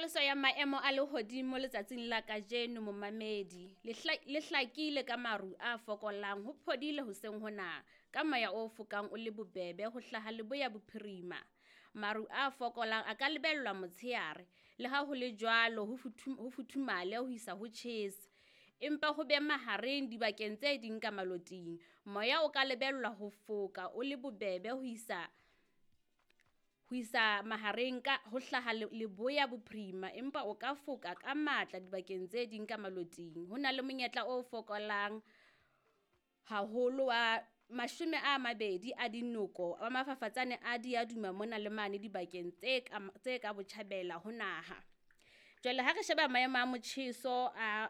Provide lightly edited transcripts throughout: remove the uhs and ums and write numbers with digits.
Tlhaloso ya maemo a lehodimo letsatsing la kajeno momamedi, le hlakile ka maru a fokolang ho phodile hoseng hona ka moya o fokang o le bobebe ho hlaha leboya bophirima. Maru a fokolang a ka lebellwa motsheare le ha hole jwalo ho futhumale ho isa ho tjhesa. Empa ho be mahareng dibakeng tse ding ka maloting. Moya o ka lebellwa ho foka o le bobebe ho isa mahareng ka ho hlaha leboya bophirima, empa o ka foka ka matla dibakeng tse ding ka maloting. Ho na le monyetla o fokolang haholo wa 20 a dinoko wa mafafatsane a diaduma mona le mane dibakeng tse ka botjhabela ho naha. Jwale ha re sheba maemo a motjheso a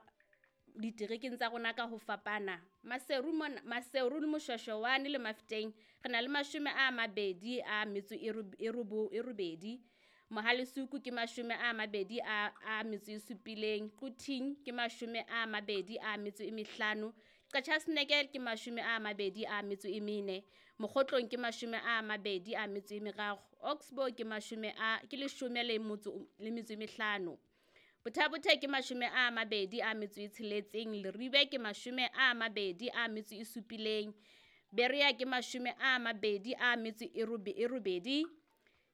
diterekeng tsa rona ka ho fapana, Maseru mona, Maseru le Moshweshwane le Mafeteng re na le 28, Mohale's Hoek ke 27, Quthing ke 25, Qacha's Nek ke 24, Mokgotlong ke 23, Oxbow ke 15. Botha-Bothe ke 26, Leribe ke 27, Berea ke 28,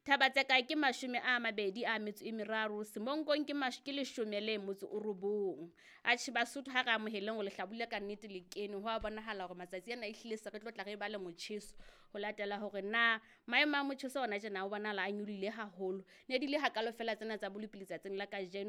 Thaba-Tseka ke 23, Semonkong ke 19. Atjhe Basotho ha re amoheleng hore lehlabula ka nnete le kene. Ho a bonahala hore matsatsi ana ehlile se re tlo tla re ba le motjheso ho latela hore na maemo a motjheso hona tjena o bonahala a nyolohile haholo. Ne di le hakalo fela tsena tsa bolupi letsatsing la kajeno.